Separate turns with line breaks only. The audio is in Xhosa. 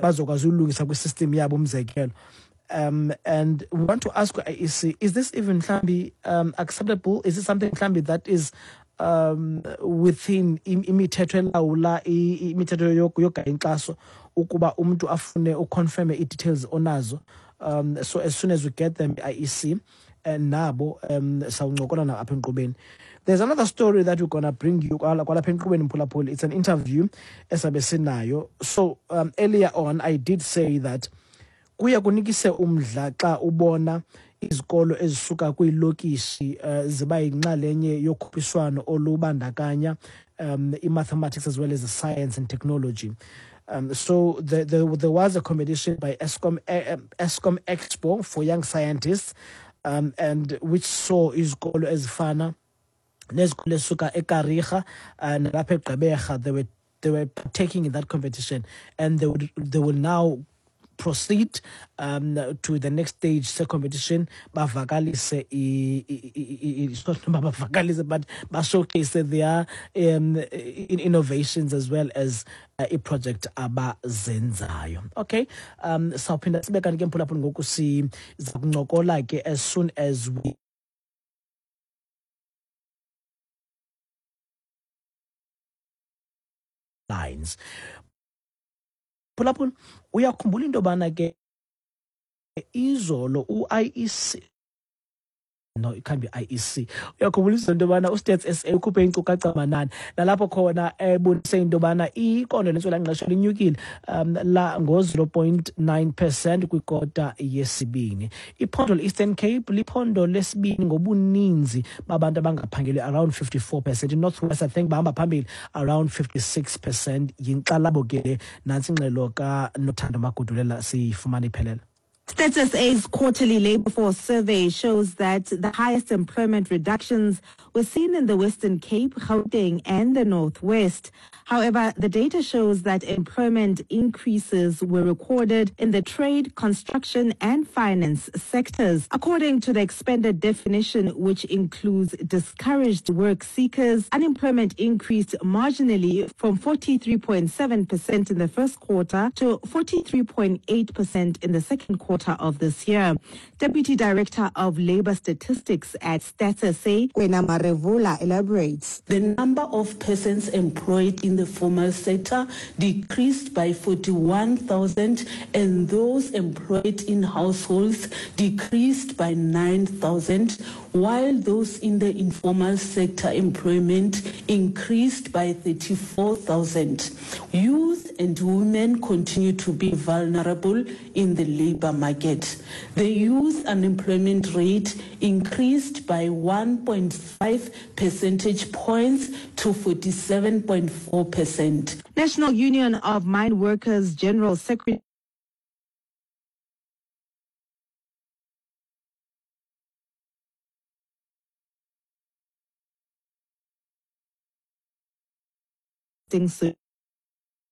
Bazokwazi ulungisa kwi-system yabo, umzekelo. And we want to ask IEC, is this even mhlambi acceptable? Is it something mhlambi that is within imithetho elawula imithetho yogaya inkxaso ukuba umntu afune uconfirme ii-details onazo? So as soon as we get them, IEC and nabo, sawuncokola nabo apha enkqubeni. There's another story that we're gonna bring you kwalapha enkqubeni, mphulaphuli. It's an interview esabe sinayo. So earlier on I did say that kuye kunikise umdla xa ubona izikolo ezisuka kwiilokishi ziba yinxalenye yokhuphiswano olubandakanya i-mathematics as well as the science and technology. So there was a competition by Eskom, Eskom Expo for young scientists, and which saw izikolo ezifana nezikolo ezisuka eKariga nalapha eGqeberha. They were partaking in that competition, and they will now proceed to the next stage se-competition, bavakalise it's not bavakalise, but bashowcase their innovations as well as i-project abazenzayo. Okay, sawuphinda sibe kanti ke, mphulaphuli, ngoku siza kuncokola ke as soon as we lines. Phulaphula, uyakhumbula into yobana ke izolo u-IEC, no, it can't be IEC, uyakhumbula izolo into yobana uStats SA ukhuphe iinkcukacha manani nalapho khona ebonise into yobana iqondo lentswelangqesho linyukile la ngo-0.9% kwikota yesibini. Iphondo le-Eastern Cape liphondo lesibini ngobuninzi babantu abangaphangeliyo, around 54%. I-North West, I think, bahamba phambili around 56%. Yinkxalabo ke le. Nantsi ingxelo kaNothando Magudulela, siyifumana iphelele.
Stats SA's quarterly labor force survey shows that the highest employment reductions were seen in the Western Cape, Gauteng, and the Northwest. However, the data shows that employment increases were recorded in the trade, construction, and finance sectors. According to the expanded definition, which includes discouraged work seekers, unemployment increased marginally from 43.7% in the first quarter to 43.8% in the second quarter of this year. Deputy Director of Labor Statistics at Stats SA, Kwena Marevula, elaborates.
The number of persons employed in the formal sector decreased by 41,000 and those employed in households decreased by 9,000, while those in the informal sector employment increased by 34,000. Youth and women continue to be vulnerable in the labor market. The youth unemployment rate increased by 1.5 percentage points to 47.4%.
National Union of Mine Workers General Secretary